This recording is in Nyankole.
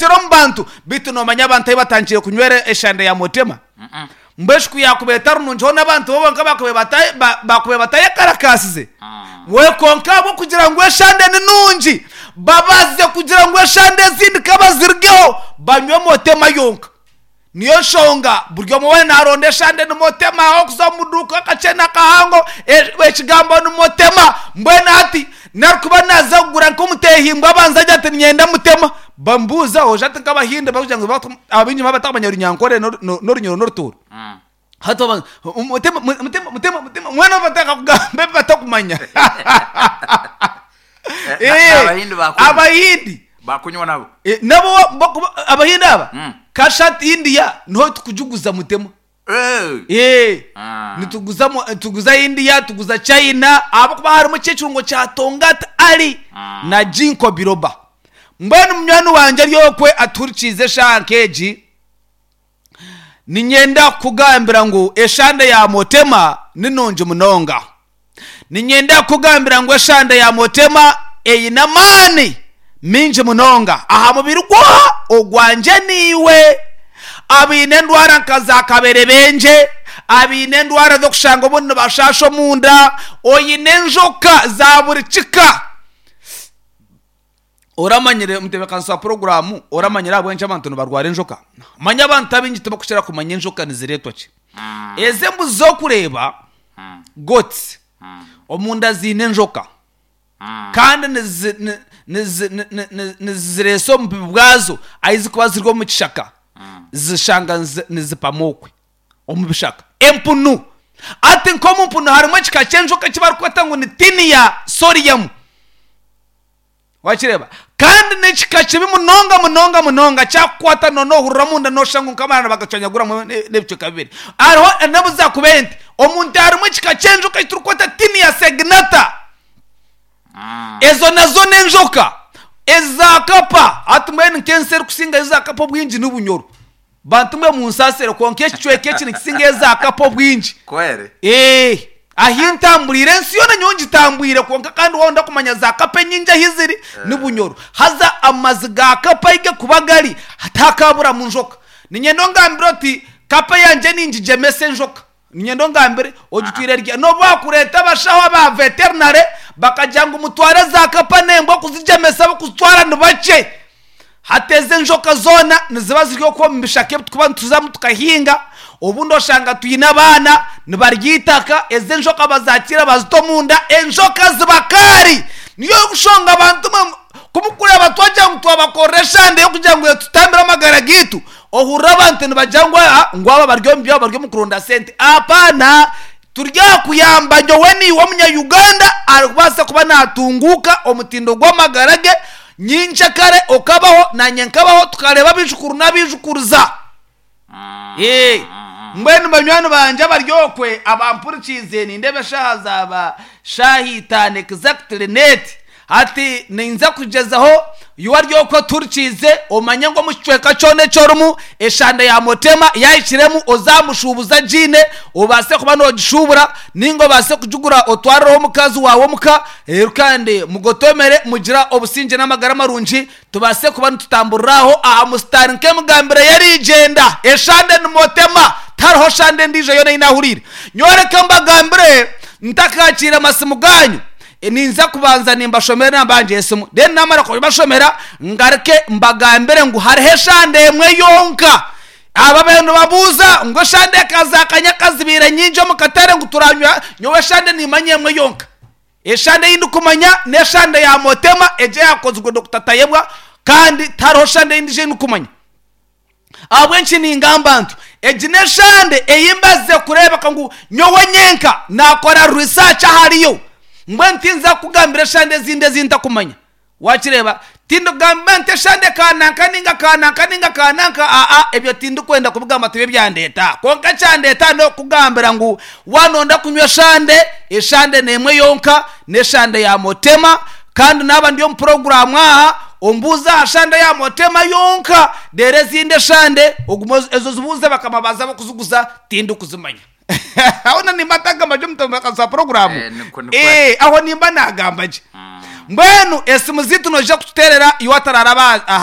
Oreekyera omu bantu. Beitu noomanya abantu ahu batandikire kunywera eshande ya Motema? Mbwenu shi ku yaakubaire etari nungi hoona abantu bo bonka baakubaire batayekarakaasize? We kwonka ahabw'okugira ngu eshande ni nungi, babazize kugira ngu eshande ezindi ka bazirugeho banywe Motema yonka. Niyo nshonga buri omwe weena naaronda eshande ni Motema aho kuza omu duuka akakye n'akahango ekigambo ni Motema. Mbwenu hati narikuba naaza kugura nk'omuteehimbwa abanza agira ati niinyenda Mutema. Bamubuuza oja ati nk'abahindi barikugira ngu abaingi batakumanya Runyankore n'Orunyoro n'Orutooro. Hati babanza Mutema Mutema Mutema Mutema mbwenu batandika kugamba ebi batakumanya. Abahindi bakunywa. Abahindi. Bakunywa nabo. Eh, nabo bakuba Abahindi aba kasha India niho tukugiguza Mutema. Eh. Eh, Ah. nituguza mu- tuguza India, tuguza China, ahabw'okuba harimu eky'ekirungo kya Tongat Ali na Ginkgo biloba. Mbwenu munywani wangye ari okwe atuhurikiize eshaaha nk'egi, niinyenda kukugambira ngu eshande ya Motema ni nungi munonga. Niinyenda kukugambira ngu eshande ya Motema eine amaani maingi munonga aha mubiri gw'oha? Ogwangye naiwe. Abaine endwara nka za kaberebengye, abaine endwara z'okushanga obundi nibashaasha omunda, oine enjoka za buri kika. Oramanyire omutebeekanisa wa puroguraamu, oramanyire ahabw'enki abantu nibarwara enjoka? Manya abantu abaingi tibakukira kumanya enjoka nizireetwa ki. Ezi embuzi z'okureeba, goats, omunda ziine enjoka kandi nizi- ni- nizi- ni- ni- ni- nizireesa omu bubi bwazo ahu zirikuba ziri omu kishaka, zishanga nizi- nizipama okwe. omu bishaka. Empunu. Hati nk'omu mpunu harimu ekika ky'enjoka eki barikweta ngu ni Taenia solium. Wakireeba? Kandi n'ekika kibi munonga munonga munonga kyakukwata noohurira omunda nooshusha ngu nk'amarara nibagacwanyaguramu n'ebicweka bibiri. Hariho n'obu zaakuba ente, omu nte harimu ekika ky'enjoka eki turikweta Taenia saginata. Ezo nazo n'enjoka eza kapa. Hati mbwenu nk'ensi erikusingayo za kapa obwingi ni Bunyoro. Bantu mwe munsaasire kwonka ekicweka eki nikisinga eza kapa obwingi. Kweri. Eeh ahi ntamburiire ensi yoona nyowe ngitambwire kwonka kandi waaba kumanya za kapa enyingi ahi ziri ni Bunyoro. Haza amazi ga kapa ahi garikuba gari tihakaaburamu njoka. Niinyenda ongambire oti kapa yangye ningigyemesa enjoka. Niinyenda ongambire ogitwire rya n'obu baakureeta abashaho aba veterinary bakagira ngu mutware za kapa n'embwa kuzigyemesa ab'okuzitwara ni bakye. Hati ezi enjoka zoona niziba ziri okwo omu bishaka ebi turikuba nituzamu tukahinga, obundi oshanga twine abaana nibarya eitaka, ezi enjoka bazakiira bazita omunda, enjoka ziba kaari. Niyo nshonga abantu mwe ku murikureeba twagira ngu twabakorera eshande y'okugira ngu etutambire amagara gaitu, ohurire abantu nibagira ngu aa ngu aba bari omu byabo bari omu kuronda sente. Apaana! Turi aha kuyamba nyowe naiwe omunya-Uganda arikubaasa kuba naatunguuka omutindo gw'amagara ge nyenkyakare okabaho naanye nkabaho tukareeba abaijukuru n'abaijukuruza. Mbwenu banywani bangye abari okwe abampurikiize nindeeba eshaaha zaaba shaaha itaano exactly net. Hati ninza kugyezaho iwe ori okwe otuhurikiize omanye ngu omu kicweka kyona eki orimu eshande ya Motema yaahikiremu ozamushuubuze agiine obaase kuba noogishuubura nainga obaase kugigura otwarireho omukazi waawe omuka reero kandi mugotomere mugira obusingye n'amagara marungi tubaase kuba nitutamburira aho aha musitaari nk'emigambire y'erigyenda eshande ni Motema tihariho shande endiijo yoona ei naahuriire. Nyowe reka mbagambire ntakakiire masimu gaanyu. Ninza kubanza nimbashomera enamba yangye y'esimu, then naamara kubashomera ngaruke mbagambire ngu hariho eshande emwe yonka. Aba bariyo nibabuuza ngu eshande eka za kanyaka zibaire nyingi omu katare ngu turanywa, nyowe eshande nimanya emwe yonka. Eshande ei ndikumanya n'eshande ya Motema egyo eyakozirwe Dokita Tayebwa kandi tihariho shande endiijo ei ndikumanya. Ahabw'enki ningamba ntyo? Egi n'eshande ei mbazize kureebeka ngu nyowe nyenka naakora research ahariyo. Mbwenu tinza kukugambira eshande ezindi ezi ntakumanya. Waakireeba? Tindikugamba nti eshande kananka nainga kananka nainga kananka, aa, ebyo tindikwenda kubigamba tibyo byandeeta. Kwonka ekyandeeta n'okukugambira ngu waaba nooyenda kunywa eshande, eshande n'emwe yonka, n'eshande ya Motema, Kandi naaba ndi omu puroguraamu aha, ombuuze aha shande ya Motema yonka, reero ezindi eshande ogume ezo ozibuuze bakama baazo ab'okuziguza, tindikuzimanya. Aho na nimba ntagamba gye omutebeekanisa wa puroguraamu? Eh, nikwo- nikwo. Eh, aho nimba naagamba gye. Mbwenu esimu zaitu noija kututeerera iwe atararaba aha.